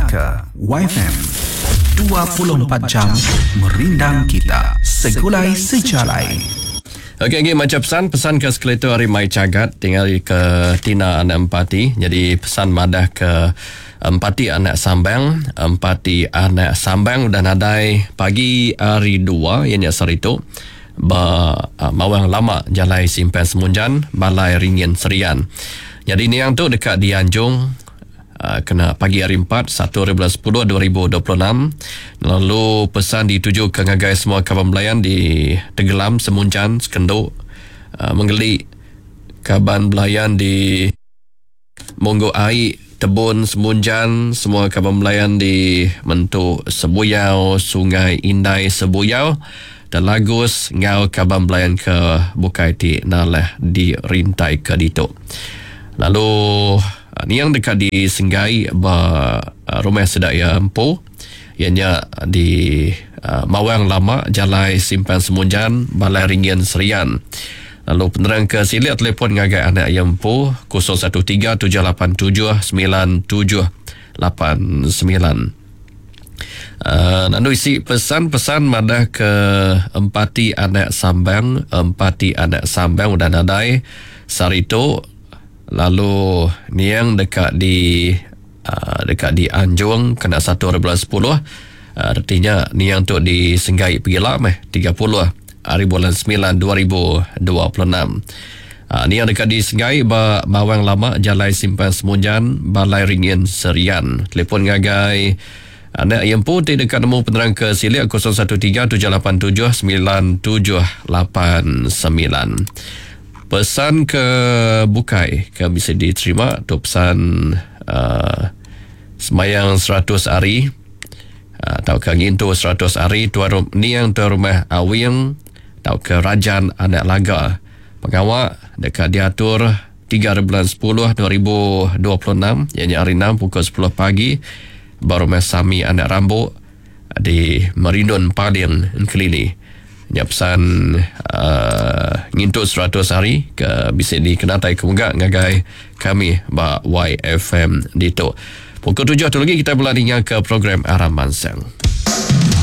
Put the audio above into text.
Dingaka Waifm 24 jam merindang kita segulai sejalai. Okey agi macha pesan pesan ke sekali tu ari Mai Chagat tinggal ke Tina anak Empati jadi pesan madah ke Empati anak Sambang Empati anak Sambang udah nadai pagi hari dua iya nya sehari tu ba Mawang Lama Jalai Simpang Semunjan Balai Ringin Serian. Nyadi niang tu deka dianjung kena pagi hari empat satu hari bulan sepuluh 2026 lalu pesan ditujuka ngagai semua kaban belayan di Tegelam Semunjan Sekendu Mengeli kaban belayan di Munggu Ai, Tebun Semunjan, semua kaban belayan di Mentu Sebuyau, Sungai Indai Sebuyau, Telagus enggau kaban belayan ke bukai ti nalah dirintaika ditu. Lalu niang deka disenggai ba rumah sida iya empu iya nya di Mawang Lama Jalai Simpang Semunjan Balai Ringin Serian. Lalu penerang ke silik telefon ngagai anak iya empu 013 787 9789. Uh, lalu isi pesan-pesan madah ke empati anak sambang, empati anak sambang udah nadai sehari tu lalu niang deka di deka dianjung kena satu hari bulan sepuluh reti nya niang tu disenggai pegila meh 30 hari bulan semilan 2026. Niang deka disenggai ba Mawang Lama Jalai Simpang Semunjan Balai Ringin Serian. Telefon ngagai anak iya empu ti deka nemu penerang ke silik 013 787 9789. Pesan ke bukai ke bisi diterima tu pesan uh, semayang 100 hari uh, tauka ngintu 100 hari tuan rum, niang tuan rumah Awing tauka Rajan Anak Laga. Pengawa deka diatur 3 hari bulan 10 2026 ianya hari 6 pukul 10 pagi ba rumah Sami Anak Rambu di Merindun Paling Engkelili. Nya pesan uh, ngintu 100 hari ke bisi dikenatai ke mega ngagai kami ba YFM ditu. Pukul 7 tu lagi kita bela ninga ke program Aram Mansang.